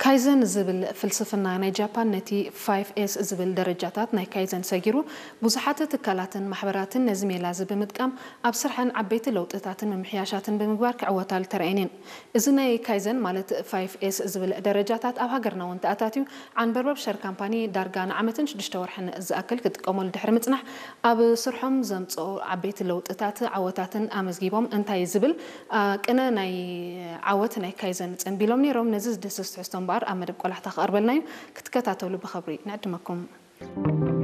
ካይዘን ዝብል ፍልስፍና ናይ ጃፓን ነቲ ፋይቭ ኤስ ዝብል ደረጃታት ናይ ካይዘን ሰጊሩ፣ ብዙሓት ትካላትን ማሕበራትን ነዚ ሜላ እዚ ብምጥቃም ኣብ ስርሐን ዓበይቲ ለውጥታትን ምምሕያሻትን ብምግባር ክዕወታሉ ተራእየን እየን። እዚ ናይ ካይዘን ማለት ፋይቭ ኤስ ዝብል ደረጃታት ኣብ ሃገርና እውን ተኣታትዩ፣ ዓንበርበብ ሸር ካምፓኒ ዳርጋ ንዓመትን ሽዱሽተ ወርሕን ዝኣክል ክጥቀመሉ ድሕሪ ምጽናሕ፣ ኣብ ስርሖም ዘምጽኦ ዓበይቲ ለውጥታት ዓወታትን ኣመዝጊቦም እንታይ ዝብል ቅነ ናይ ዓወት ናይ ካይዘን ጸንቢሎም ነይሮም። ነዚ ዝድህስስ ትሕዝቶ እምበኣር ኣብ መደብ ቆላሕታ ክቐርበልና እዩ። ክትከታተሉ ብኸብሪ ንዕድመኩም።